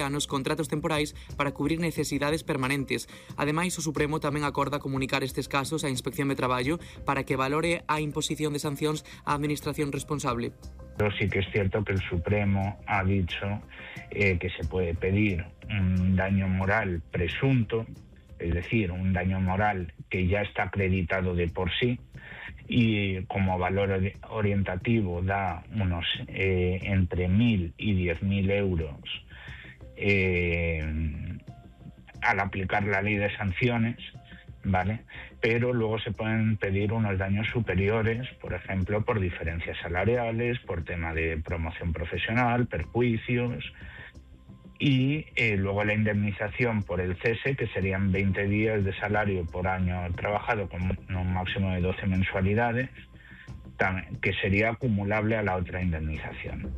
anos contratos temporais para cubrir necesidades permanentes. Ademais, o Supremo tamén acorda comunicar estes casos á Inspección de Traballo para que valore a imposición de sancións á administración responsable. Pero sí que es cierto que el Supremo ha dicho que se puede pedir un daño moral presunto, es decir, un daño moral que ya está acreditado de por sí, y como valor orientativo da unos entre 1.000 y 10.000 euros al aplicar la ley de sanciones, ¿vale? Pero luego se pueden pedir unos daños superiores, por ejemplo, por diferencias salariales, por tema de promoción profesional, perjuicios, y luego la indemnización por el cese, que serían 20 días de salario por año trabajado con un máximo de 12 mensualidades, que sería acumulable a la otra indemnización.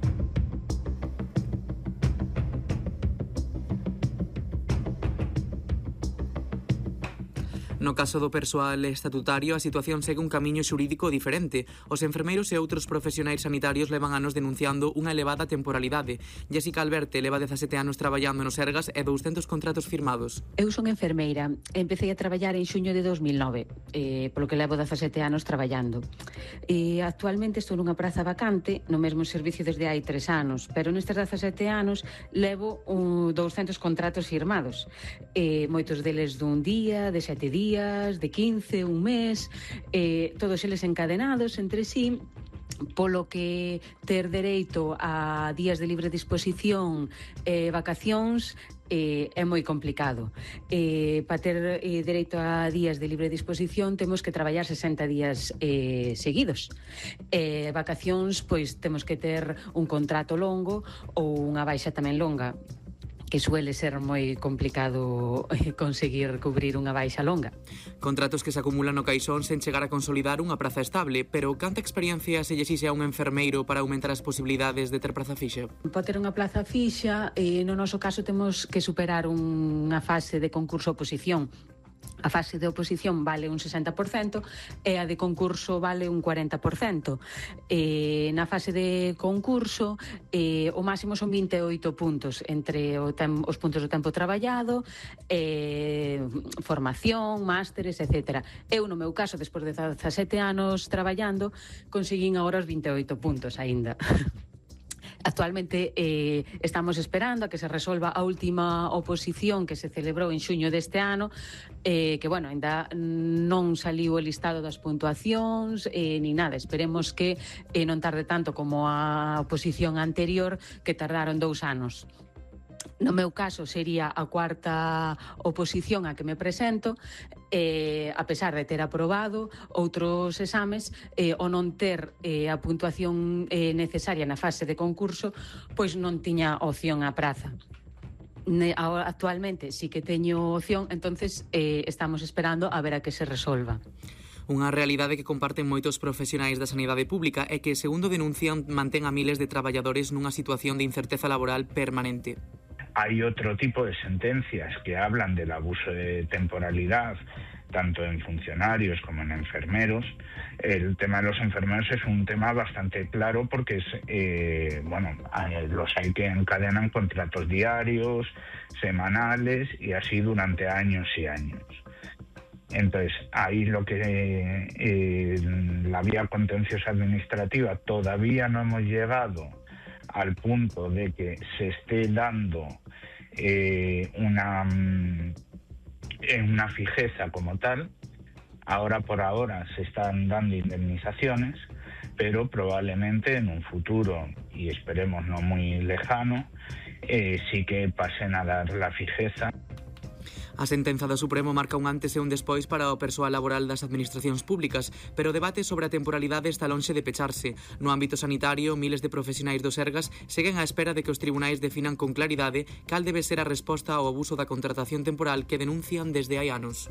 No caso do persoal estatutario, a situación segue un camiño xurídico diferente. Os enfermeiros e outros profesionais sanitarios levan anos denunciando unha elevada temporalidade. Jessica Alberte leva 17 anos traballando no Sergas e 200 contratos firmados. Eu son enfermeira. Empecé a traballar en xuño de 2009, polo que levo 17 anos traballando. Actualmente estou nunha praza vacante no mesmo servicio desde hai 3 anos, pero nestes 17 anos levo 200 contratos firmados. Moitos deles dun día, de 7 días, de 15, un mes, todos eles encadenados entre sí, polo que ter dereito a días de libre disposición e vacacións é moi complicado. Para ter dereito a días de libre disposición temos que traballar 60 días seguidos. Vacacións, pois temos que ter un contrato longo ou unha baixa tamén longa, que suele ser moi complicado conseguir cubrir unha baixa longa. Contratos que se acumulan no caixón sen chegar a consolidar unha praza estable, pero canta experiencia se lle exixe a un enfermeiro para aumentar as posibilidades de ter praza fixa? Para ter unha plaza fixa, no noso caso temos que superar unha fase de concurso-oposición. A fase de oposición vale un 60% e a de concurso vale un 40%. Na fase de concurso o máximo son 28 puntos entre os puntos do tempo traballado, formación, másteres, etc. Eu, no meu caso, despois de 17 anos traballando, conseguín agora os 28 puntos aínda. Actualmente estamos esperando a que se resolva a última oposición que se celebrou en xuño deste ano, que, bueno, ainda non saliu o listado das puntuacións ni nada. Esperemos que non tarde tanto como a oposición anterior, que tardaron 2 anos. No meu caso sería a 4ª oposición a que me presento, a pesar de ter aprobado outros exames, o non ter a puntuación necesaria na fase de concurso, pois non tiña opción á praza. Actualmente sí que teño opción, entonces estamos esperando a ver a que se resolva. Unha realidade que comparten moitos profesionais da sanidade pública é que, segundo denuncian, mantén a miles de traballadores nunha situación de incerteza laboral permanente. Hay otro tipo de sentencias que hablan del abuso de temporalidad, tanto en funcionarios como en enfermeros. El tema de los enfermeros es un tema bastante claro porque los hay que encadenan contratos diarios, semanales y así durante años y años. Entonces, ahí lo que la vía contenciosa administrativa todavía no hemos llegado al punto de que se esté dando una fijeza como tal. Ahora por ahora se están dando indemnizaciones, pero probablemente en un futuro, y esperemos no muy lejano, sí que pasen a dar la fijeza. A sentenza do Supremo marca un antes e un despois para o persoal laboral das administracións públicas, pero o debate sobre a temporalidade está lonxe de pecharse. No ámbito sanitario, miles de profesionais do Sergas seguen á espera de que os tribunais definan con claridade cal debe ser a resposta ao abuso da contratación temporal que denuncian desde hai anos.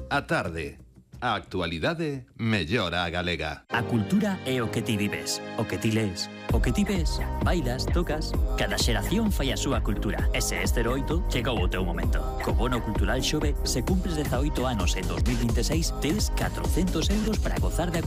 A tarde, A actualidade mellora a galega. A cultura é o que ti vives, o que ti lees, o que ti ves, bailas, tocas. Cada xeración fai a súa cultura. E se este 08, chegou o teu momento. Co Bono Cultural Xove, se cumples 18 anos en 2026, tes 400 euros para gozar da cultura